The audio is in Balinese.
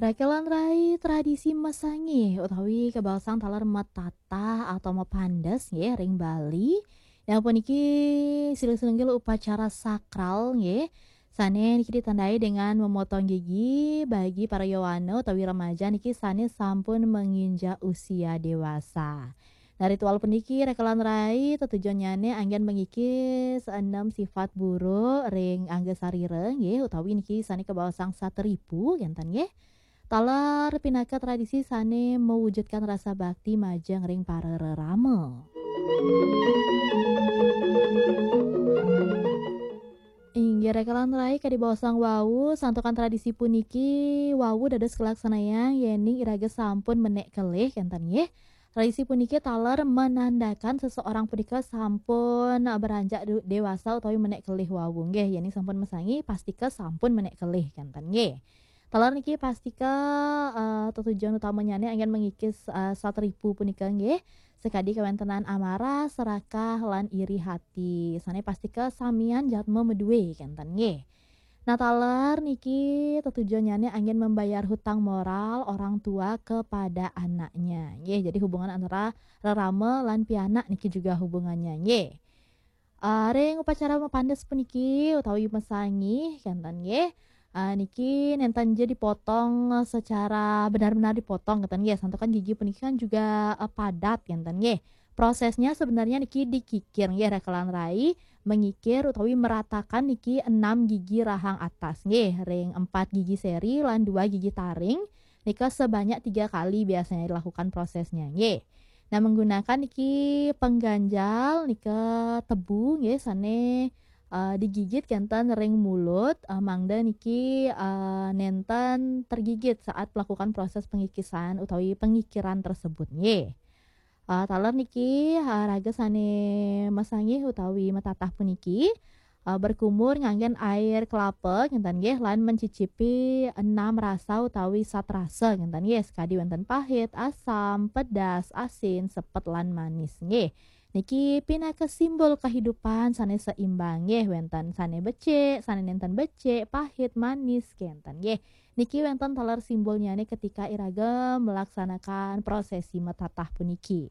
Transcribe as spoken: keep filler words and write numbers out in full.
Rakelan rai tradisi masangih utawi kabaosang taler matatah atau mapandes nggih ring Bali. Nah, puniki silih sinunggil upacara sakral nggih. Sane niki ditandai dengan memotong gigi bagi para yowana utawi remaja niki sane sampun menginjak usia dewasa. Nah, ritual puniki rakelan rai tetujonnyane anggen mengikis enem sifat buruk ring angga sarira nggih utawi niki sane kabaosang satripu kenten nggih. Taler pinaka tradisi sane mewujudkan rasa bakti majeng ring para rerama. Inggih rakelan rai kadi baosang wau, santukan tradisi puniki wau dados kalaksanayang yening iraga sampun menek kelih kenten nggih. Tradisi puniki taler menandakan seseorang punika sampun beranjak du- dewasa utawi menek kelih wau nggih. Yening sampun mesangi pastika sampun menek kelih kenten nggih. Taler niki pastika eh, tetujon utamanyane anggen mengikis eh, satripu punika nggih. Sakadi kawentenan amarah, serakah, lan iri hati. Sane pastika samian jatma madue kenten nggih. Nah, taler niki tetujonnyane anggen membayar hutang moral orang tua kepada anaknya. Nggih, jadi hubungan antara rerama lan pianak niki juga hubungannya nggih. Ah, ring upacara mapandes puniki utawi masangi kenten nggih. Ah, niki nenten je dipotong secara benar-benar dipotong kenten nggih. Santukan gigi puniki kan juga eh, padat kenten nggih. Prosesnya sebenarnya niki dikikir nggih rakelan rai, mengikir utawi meratakan niki enam gigi rahang atas nggih, ring empat gigi seri lan dua gigi taring. Nika sebanyak tiga kali biasanya dilakukan prosesnya nggih. Nah, menggunakan niki pengganjal nika tebu nggih sane eh, digigit kenten ring mulut eh, mangda niki eh, nenten tergigit saat melakukan proses pengikisan utawi pengikiran tersebut nggih. Eh, taler niki eh, raga sane masangih utawi matatah puniki eh, berkumur nganggen air kelapa kenten nggih lan mencicipi enam rasa utawi sat rasa kenten nggih, sekadi wenten pahit, asam, pedas, asin, sepet lan manis nggih. Niki pinaka simbol kehidupan sane seimbang nggih, wenten sane becik, sane nenten becik, pahit, manis kenten nggih. Niki wenten taler simbolnyane ketika iraga melaksanakan prosesi matatah puniki.